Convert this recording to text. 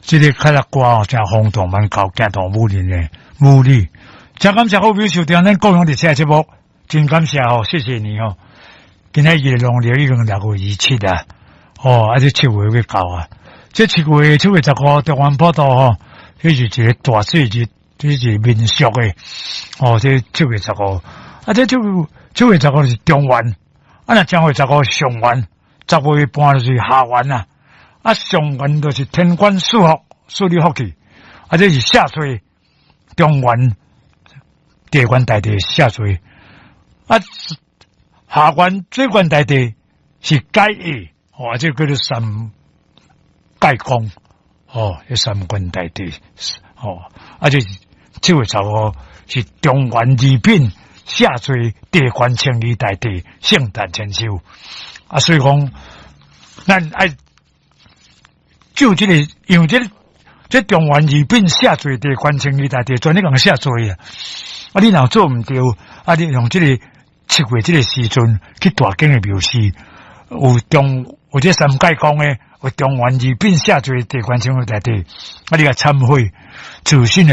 這个較早歌哦，誠轟動蠻高，驚動武林的武女。誠感謝好朋友收聽咱高雄熱線節目，真感謝吼，謝謝你吼。今仔日農曆已經6月27啊，哦，啊，這七月欲到啊，這7月15，中元普渡吼，這是一个大節日，這是民俗的，哦，這七月十五，啊，這7月15是中元，啊，若正月十五上元，10月半就是下元啊，啊，上元就是天官賜福，賜你福氣，啊，這是下歲中元，地官大帝下歲，啊，下元水官大帝是解厄，哦，這叫做三界公，哦，這三官大帝，哦，啊，這7月15是中元二品下歲地官青衣大帝聖誕千秋，啊，所以講，咱愛就這个，因為這个，這中元二品下歲地官青衣大帝專咧共赦罪啊，啊，你若做毋著，啊，你用這个七月這个時陣去大間的廟寺，有中有這三界公的，有中元二品下歲地官青衣大帝，啊，你共懺悔，自信的。